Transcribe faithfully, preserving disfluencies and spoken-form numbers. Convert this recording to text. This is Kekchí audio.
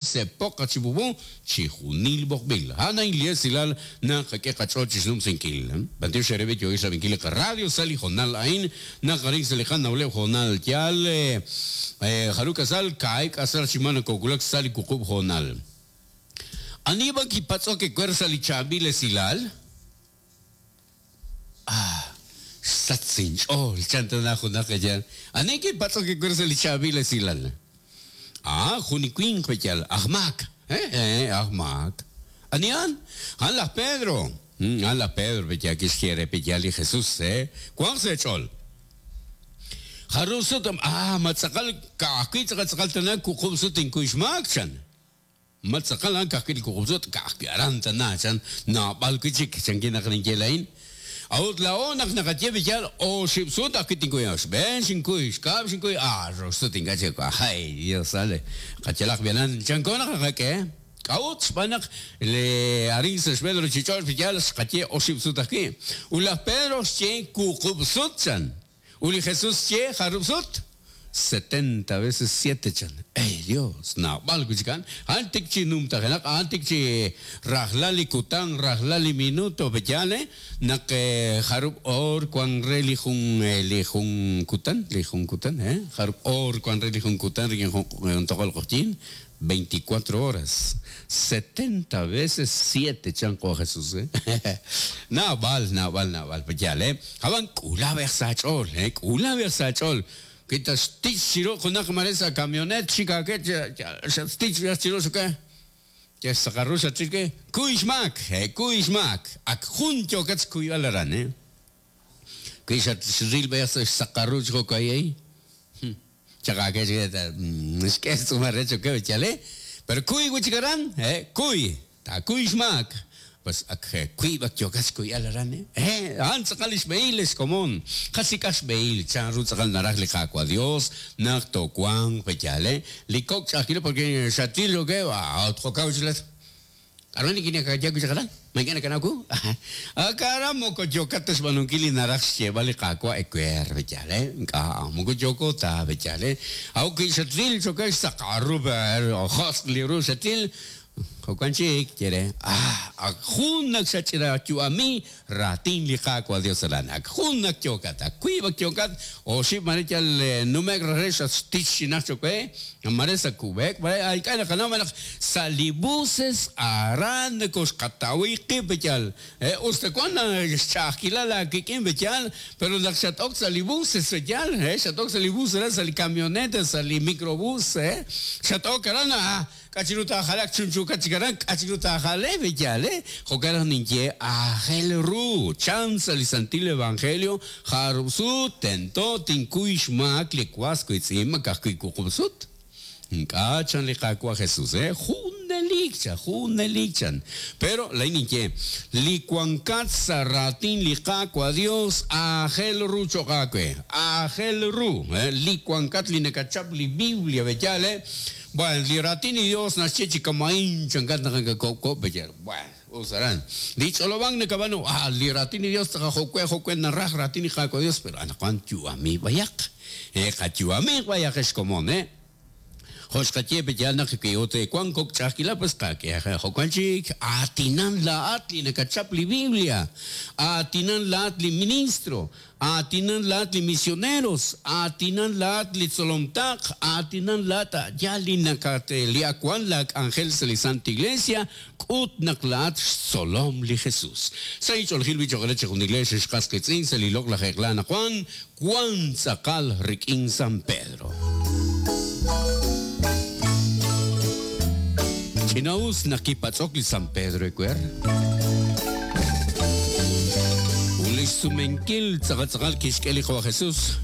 Sepoq chibubu chijunil b'oqb'il. A'an a'in li esilal naq qak'e qach'ool chixnumsinkil. B'antiox eere yo'il xrab'inkil li radio sa' li hoonal a'in naq arin sa' li qanawleb' hoonal yaal jarub' k'asal kaahib' k'asal chi ma nakowulak sa' li wuqub' hoonal. Ani b'an kipatz'ok ewer sa' li chaab'il esilal? Ah, xsach inch'ool chan tana junaq yaal. Ani kipatz'ok ewer sa' li chaab'il esilal? Ah, jun li winq b'eyal, aj maak. Eh, eh, aj maak. Anian, an laj Pedro. Mm, an laj Pedro b'eyal kixye re b'eyal li Jesús, eh. Wanq sa' ch'ool. Jarub' sut, ah, matz'aqal ka'ajwi' tz'aqal tana wuqub' sut inkuy xmaak chan. Matz'aqal an ka'ajwi' li wuqub' sut ka'ajwi' aran tana chan naab'al wi' chik chan kinaq ninye lain. Awut laa'o naq naqaye b'eyal oxib' sut ajwi' tinkuy xb'een xinkuy xkab' xinkuy ah rox sut ink'a' chik ay Dios sale qachalaq b'yalan chanko naq qak'e k'a'ut xb'aan naq le arin sa' xb'een ruchich'och' b'eyal xqaye oxib' sut ajwi' ut laj Pedro xye wuqub' sut chan ut li Jesús xye jarub' sut setenta veces siete chan. Ey Dios, naab'al wi' chik a'an. A'an tik chi numtajenaq, a'an tik chi rajlal li kutan, rajlal li minuto b'eyal, eh? Naq jarub' or wan re li jun li jun kutan, li jun kutan, eh? Jarub' or wan re li jun kutan rik'in jun toqol q'oqyin, veinticuatro horas. setenta veces siete chan qo Jesús, eh? Naab'al, naab'al, naab'al b'eyal, eh? Ab'an k'ulab'ej sa' ch'ool, eh? K'ulab'ej sa' ch'ool. Kita stich chiro junaq mare sa camionet chika ke stich chiro suke. Ya saqarru sa chike kuy xmak, eh kuy xmak. Ak jun yokats kuy alaran, eh. Kuy xat xril b'e sa saqarru chjo kay. Chaka ke es que es un arrecho ke chale. Pero kuy wichikaran, eh kuy, ta kuy xmak. Pues ak kuy bak yokas kuy alaran, eh. Eh, an tz'aqal ixb'eil komon. Qasik axb'eil chan ru tz'aqal naraj li qaawa Dios naq towanq b'eyal, eh. Li kok' ch'ajkilo porque xatil lo que ah tjokaw chlet. Aron ni kine kaya kuchakaran. Mañana kanaku. Akara moko yokat xb'anunkil li naraj xyeeb'al li qaawa ewer b'eyal, eh. Nk'a moko yoko ta b'eyal, eh. Aw ki xatil chokex saqarru josq li ru xatil. Jo'kan chik yere ah ak jun naq xach'ira yu'ami ratin li qaawa Dios aran ak jun naq yokat ak wiib' ak yokat oxib' mare yal numek re xatstich xinaj chokwe mare sa kub'ek mare ay k'a naqanaw naq sa' li buses aran nakoxqatawi qib' b'eyal eh usta wan xch'a'ajkilal akik'in b'eyal pero naq xat'ok sa' li buses b'eyal eh xat'ok sa' li bus aran sa' li camioneta sa' li microbús eh xat'ok aran ah k'achiru tajalak chunchukat chikaran k'achiru tajale b'eyal eh jo'kan naq ninye aajel ru chan sa' li Santil Evangelio jarub' sut tento tinkuy xmaak li was witz'in makajwi' wuqub' sut ink'a' chan li qaawa Jesús eh junelik chan junelik chan pero lay ninye li wankat sa' raatin li qaawa Dios aajel ru cho'q aawe aajel ru eh li wankat li nakachap li Biblia b'eyal eh. Bueno, li ratin li Dios naxye chi kamain chankat naqakakop b'eyal. Bueno, usaran. Li ch'olob'an nakab'anu, ah, li ratin li Dios taqajokwe jokwe naraj ratin li qaawa Dios, pero anaqwan yu'ami b'ayaq. Eh, qayu'ami b'ayaq ex komon, eh. Joxqaye b'eyal naq ki'ote wan kok ch'ajkila pues qak'e jo'kan chik atinan la'at li nakachap li Biblia, atinan la'at li ministro, atinan la'at li misioneros, atinan la'at li tzolomtaq, atinan la'at ya li nakate li akwan lak ángel sa li Santa Iglesia, k'ut naq la'at xtzolom li Jesús. Sa ich'oljil bichoqre chejun iglesia xqas qitz'in sa li loq laj eqla naqwan, wan tz'aqal rik'in San Pedro. Chinaus nakipatz'ok li San Pedro ewer. Ulis sumenkil tz'aqal tz'aqal kixk'e li Jesús.